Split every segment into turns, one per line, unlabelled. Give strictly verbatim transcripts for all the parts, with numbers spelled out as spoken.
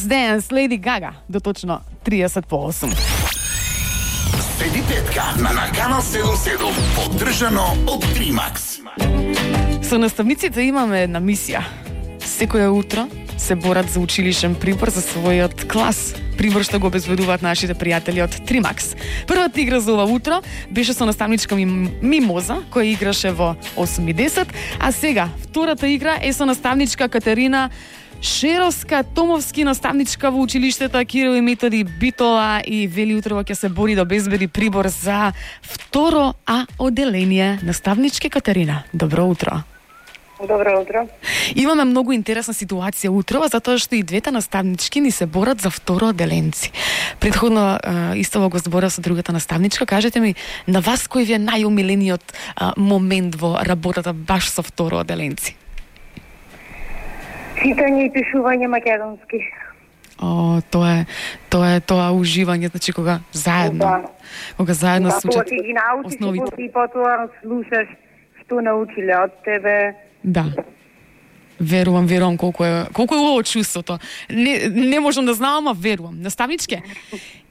Last Dance, Lady Gaga, до точно триесет по осум.
Седи петка на Наканал седум седум, поддржано од Тримакс.
Со наставниците имаме една мисија. Секоја утро се борат за училишен прибор за својот клас. Прибор што го обезбедуваат нашите пријатели од Тримакс. Првата игра за ова утро беше со наставничка Мимоза, која играше во осум и десет, а сега втората игра е со наставничка Катерина Шеровска, Томовски, наставничка во училиштето Кирил и Методи Битола, и вели утрово ќе се бори да обезбеди прибор за второ А оделение. Наставничке Катерина, добро утро.
Добро утро.
Имаме многу интересна ситуација утрово, затоа што и двете наставнички ни се борат за второ оделенци. Предходно истово го зборав со другата наставничка. Кажете ми, на вас кој ви е најомилениот момент во работата баш со второ оделенци?
Читање и пишување македонски.
О, тоа е, тоа е тоа уживање, значи кога заедно,
Да.
кога заедно
Да,
се учат
тоа си ги научиш
основите.
и потоа слушаш што научиле од тебе.
Да. Верувам, верувам колку е колку е убаво чувството. Не не можам да знам, ама верувам. Наставничке,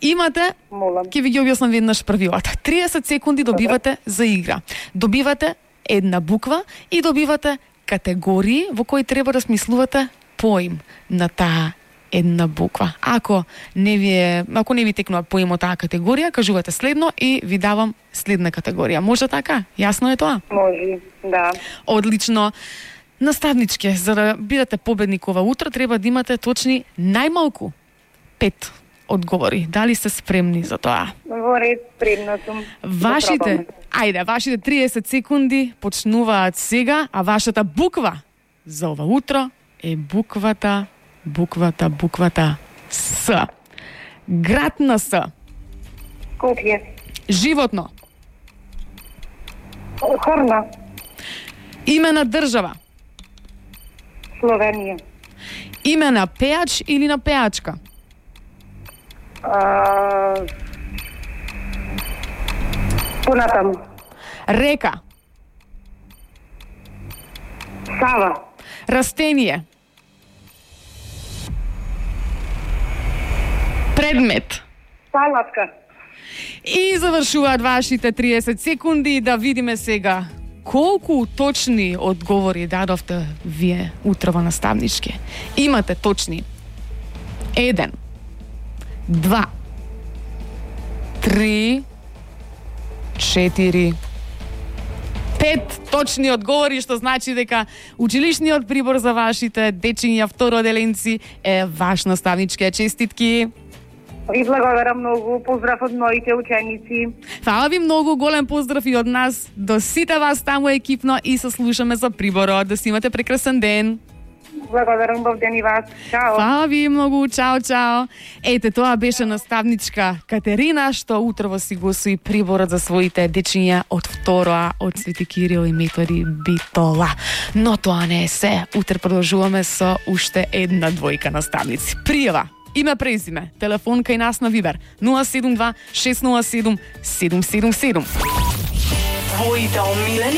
имате,
Молам.
ќе ви ги објаснам веднаш правилата. триесет секунди добивате за игра. Добивате една буква и добивате категории во кои треба да смислувате поим на таа една буква. Ако не ви е, ако не ви текнува поим од таа категорија, кажувате следно и ви давам следна категорија. Може така? Јасно е тоа?
Може, да.
Одлично. Наставничке, за да бидете победник ова утро, треба да имате точни најмалку пет одговори. Дали сте спремни за тоа?
Во ред, спремна сум.
Вашите, ајде, вашите триесет секунди почнуваат сега, а вашата буква за ова утро е буквата, буквата, буквата С. Град на С.
Скопје.
Животно.
Хорна.
Име на држава.
Словенија.
Име на пеач или на пеачка.
А... Понатаму.
Река.
Сава.
Растение. Предмет.
Палатка.
И завршуваат вашите триесет секунди. Да видиме сега колку точни одговори дадовте вие утрово наставнички. Имате точни еден, два, три, четири, пет точни одговори, што значи дека училишниот прибор за вашите дечиња второделенци е ваш, наставничке. Честитки!
Ви благодарам многу. Поздрав од моите ученици.
Фала ви многу, голем поздрав и од нас до сите вас таму екипно и се слушаме за приборот. Да си имате прекрасен ден.
Благодарам, бов ден и вас. Чао.
Фала ви многу, чао, чао. Ете, тоа беше наставничка Катерина, што утрово си го освои приборот за своите дечиња од второа од Свети Кирил и Методи Битола. Но тоа не е се. Утре продолжуваме со уште една двојка наставници. Пријава, име, презиме, телефон кај нас на Вибер нула седум два шест нула седум седум седум седум.
Твоите омилени